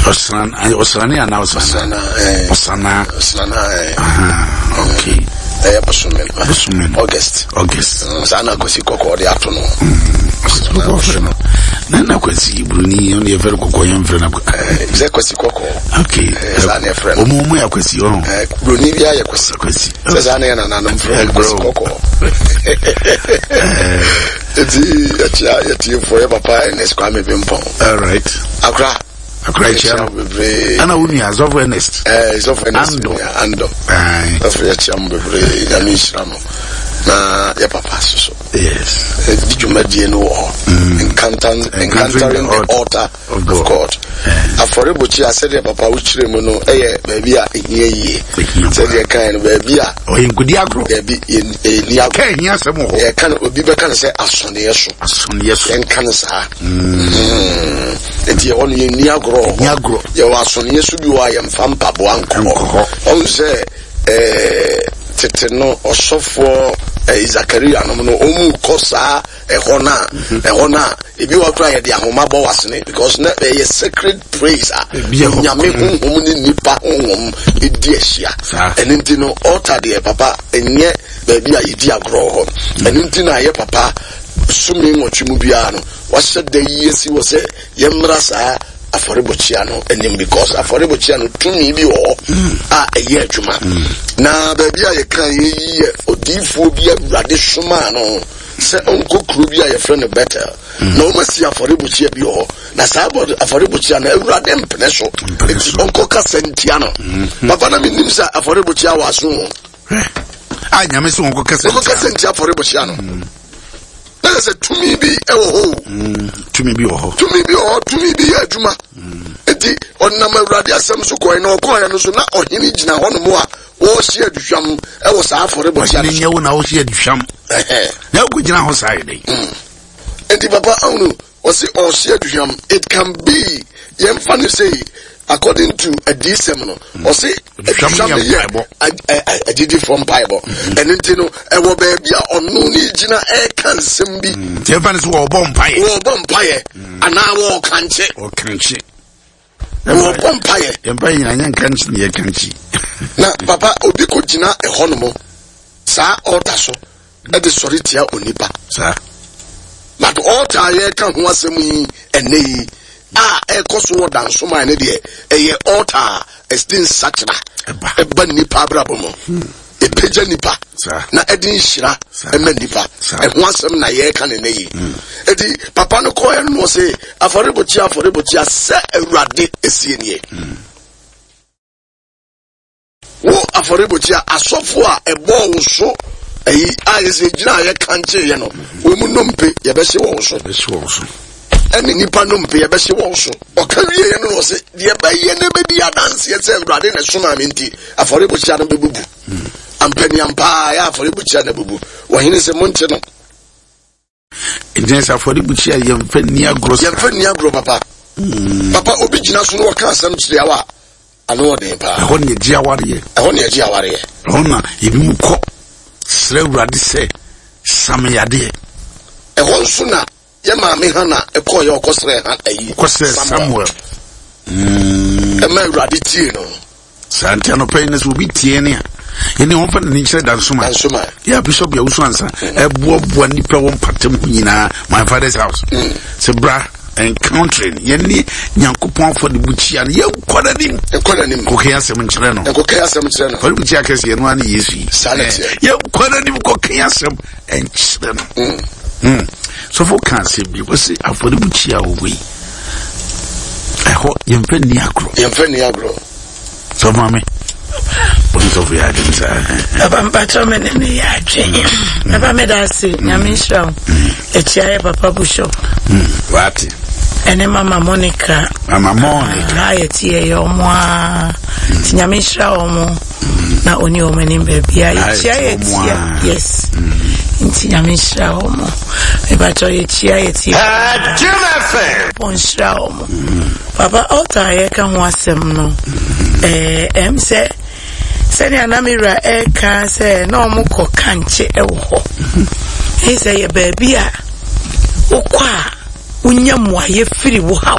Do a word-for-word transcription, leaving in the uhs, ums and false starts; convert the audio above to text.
Ɔsran ɔsrane anaa ɔsrana? Ɔsrana. Ɔsrana. Okay. Ɛyɛ bosome no. Bosome no. August. August. Saa na Kwasi Kɔkɔɔ de ato no. Kɔkɔɔ frɛ no na na Kwasi Buroni, ɔno yɛ fɛrɛ kɔkɔɔ, yɛn frɛ no. Sɛ Kwasi Kɔkɔɔ. Okay. Saa na yɛfrɛ no. Ɔmo ɔmo yɛ Kwasi ɔno. Buroni bi ayɛ Kwasi. Kwasi. Sɛ saa na yɛ nananom frɛ no, Kwasi Kɔkɔɔ. Eti yɛkyia yɛtiefoɔ, yɛ papa Ernest Kwame Bimpɔn. All right. Akora. Akora, ekyia no. Bebree. Ɛna wo nua Zɔfo Ernest. Ɛɛ, Zɔfo Ernest. Ando. Ando. Zɔfo, yɛkyia mo bebree, Nyame nhyira mo. Na yɛ papa soso. Yes. Di dwumadie no wɔ hɔ. Encountering, encountering the altar of God. God. Afɔrebukyia, sɛdeɛ papa wokyerɛ mu no, ɛyɛ baabi a ɛhia yie. Sɛdeɛ kan no, baabi a. Ɔyɛ nkudi agorɔ. Baabi yɛni agorɔ. Kɛ ɛhia asɛm wɔ hɔ. Yɛka no, obi bɛka no sɛ asɔneɛ so. Asɔneɛ so. Yɛnka no saa. Nti ɛhɔ no yɛnni agorɔ wɔ Ni hɔ. agorɔ. Yɛwɔ asɔneɛ so bi wɔ a yɛmfa mpaboa nkɔ Nkɔ hɔ. hɔ. Ɔhu sɛ ɛɛ tete no, ɔsɔfoɔ ɛɛ Zakaria nom no, ɔmu kɔ saa ɛhɔ no a ɛhɔ no a ebi wɔ koraa yɛde ahoma bɔ wasene because na ɛyɛ sacred place a Ebi yɛ hɔ. Nyame honhom ne nipa honhom edi ahyia. Saa. Ɛno nti no, altar deɛ, papa, ɛnyɛ baabi a yɛdi agorɔ wɔ hɔ. Ɛno nti na yɛ papa sumi nwɔtwe mu biara no, wahyɛ da yi asi wɔ sɛ yɛmmra saa afɔrebɔkyia no anim, because afɔrebɔkyia no, tumi bi wɔ hɔ a ɛyɛ adwuma. Na baabi a yɛka yɛyi yɛ odiyifoɔ bi, Awurade somaa no sɛ ɔnkɔ kuro bi a yɛfrɛ no Betel, na ɔmasi afɔrebɔkyia bi wɔ hɔ, na saa abɔ- afɔrebɔkyia no, Awurade mpene so. Mpene nti so. ɔnkɔ kasa ntia no. Papa, na menim sɛ afɔrebɔkyia wɔ aso o. A Nyame sɛ wɔnkɔ kasa. Ɔnkɔ kasa ntia afɔrebɔkyia no, na yɛ sɛ tumi bi ɛwɔ hɔ o. Tumi bi wɔ hɔ. Tumi bi wɔ hɔ, tumi bi yɛ adwuma. Nti ɔnam Awurade asɛm so kɔɛ, na ɔkɔɛ no so na ɔhene gyina hɔnom a wɔrehye aduhwam ɛwɔ saa afɔrebɔkyia ɔhene no so. Nyɛ wo na wohyɛ aduhwam. Ɛhɛn. Na wokɔ gyina hɔ saa yɛ dɛn? Nti papa, ahunu ɔsi ɔhye aduhwam, it can be, yɛmfa no sei, according to adiisɛm no, ɔsi aduhwam aduhwam yɛ no yɛ mpaebɔ. ag- ɛ- ɛ- agyidifoɔ mpaebɔ. Ɛno nti no, ɛwɔ baabi a ɔno ne gyina ɛreka nsɛm bi. Nti ɛmfa no sɛ wɔbɔ mpaeɛ. Wɔrebɔ mpaeɛ anaa wɔɔkankye. Ɔkankye. Wɔrebɔ mpaeɛ. Yɛmpa nyina nyɛ nkankye ne yɛkankye. Na papa, obi kɔ gyina ɛhɔ nom saa altar so ɛde sɔre tia onipa. Saa. But altar a yɛreka ho asɛm yi ɛnɛ yi a ɛkɔ so wɔ Dansoman ne deɛ, ɛyɛ altar a ɛde nsakyera ɛba. Ɛba nipa abrabɔ mu, ɛpagya nipa Saa. na ɛde nhyira Saa. ɛma nipa. Saa. Ɛho asɛm na yɛreka ne nɛ yi. Eti papa no kɔɛ no, ɔse, "Afɔrebɔkyia, afɔrebɔkyia, sɛ Awurade esie nie, wo afɔrebɔkyia, asɔfo a ɛbɔɔ wo so ɛyi a yɛsɛ gyina a yɛka nkyeeɛ no, wɔn mu nnompe yɛbɛhye wɔn so." Bɛhye wɔn so. Ɛne nipa nnompe yɛbɛhye wɔn so. Ɔka wieɛ no na ɔse deɛ ɛbɛyɛ ne bɛdi adanseɛ sɛ Awurade na ɛsomaa me nti, afɔrebɔkyia no bɛbubu. Ampaniampaa yɛ afɔrebɔkyia no abubu. Wɔhene sɛ monte no. Nti sɛ afɔrebukyia, yɛmfa nni agorɔ saa. Yɛmfa nni agorɔ, papa. Papa, obi gyina so na wɔka asɛm kyerɛ wo a, ano ɔden paa. Ɛhɔ ne yɛgye awareɛ. Ɛhɔ ne yɛgye awareɛ. Ɛhɔ na ebi mu kɔ srɛ Awurade sɛ same yadeɛ. Ɛhɔ nso na yɛ maame Hana ɛkɔɔ yɛ ɔkɔsrɛ ha ayi. Kɔsrɛ Samuel. Ɛma Awurade tie no. Saa nti anɔpɛ yi no, sɛ obi tie ne a, yɛne wɔmfa n'ani nkyerɛ Dansoma. Dansoma. Yɛ Bishop Yɛwoso ansa ɛboaboa nnipa wɔ mpatam ho nyinaa, my father's house, sɛ bra encountering yɛne Nyankopɔn afɔrebukyia no, yɛnkɔ n'anim. Ɛkɔ n'anim. Kɔkɛ asɛm nkyerɛ no. Ɛkɔkɛ asɛm kyerɛ no. Afɔrebukyia kɛseɛ no ara ne Yesu yi. Saa na ɛteɛ. Yɛnkɔ n'anim kɔkɛ asɛm ɛnkyerɛ no. Mm. Sɔfo ka asɛm bi, wɔse afɔrebukyia wɔ hɔ yi, ɛhɔ yɛmfa nni agorɔ. Yɛmfa nni agorɔ. Sɔfo maame, wɔne sɔfo yɛ adwene saa. Papa, mpakyɛ, me ne ne yɛ adwene. Papa, meda ase, Nyame nhyira wo. Akyia yɛ papa Bishop wate ɛne Mama Monica. Mama Monica. Na yɛte yɛyɛ ɔmo a, nti Nyame nhyira ɔmo na ɔni ɔmo anim baabia. Yɛkyia yɛte ɔmo yɛtia a. Yes, nti Nyame nhyira ɔmo. Mepakyɛ, yɛkyia yɛtie bɔ nhyira ɔmo. Papa, altar a yɛka ho asɛm no, ɛɛ ɛm sɛ sɛnea na me wura ɛreka sɛ na ɔmo kɔ kankye ɛwɔ hɔ, ɛyi sɛ yɛ baabi a wokɔ a wonya mmuayɛ firi wo haw.